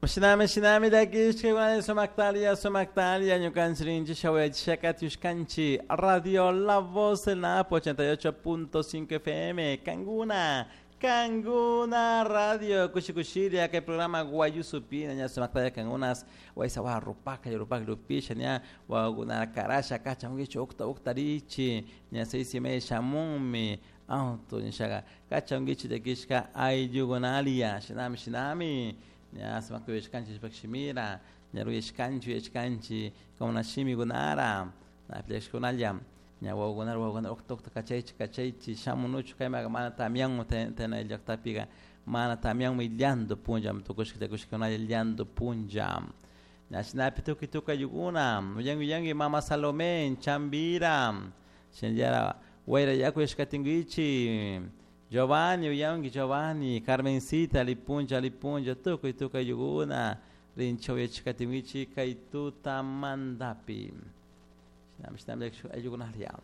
Shinami shinami llakishka sumaktalia sumaktalia ñukanchik rinchik shawayachishaka Radio La Voz del Napo 88.5 FM Kanguna Kanguna Radio kushikushilla kay programa Guayusupina ña sumaktalia kangunas waysa wa rupaka rupaka rupisha ña wawakuna karasha kachankichik ukta ukta richi ña 6:30 shamunmi auto nishaga kachankichik llakishka ayllukunalia shinami shinami ña sumakta uyashkanchik shimira ña ruyashkanchik uyashkanchik kuna shimikunara llakishkunalla ña wawakuna wawakuna ukta ukta kachaychik kachaychik shamunuchu kaymaqa mana tamyanmu tena llaqtapiqa mana tamyanmi llanto punlla tukushka llakushkunalla llanto punlla ña shinapi tukuy tukuy ayllukuna uyanki uyanki mama Salomé Chambira shinallara wayra yaku yashkatinkichik Giovanni uyanki Giovanni Carmencita lipunlla lipunlla tukuy tukuy ayllukuna rinchik uyachikatinkichik kay tutamantapi shinami shinami ayllukunalla.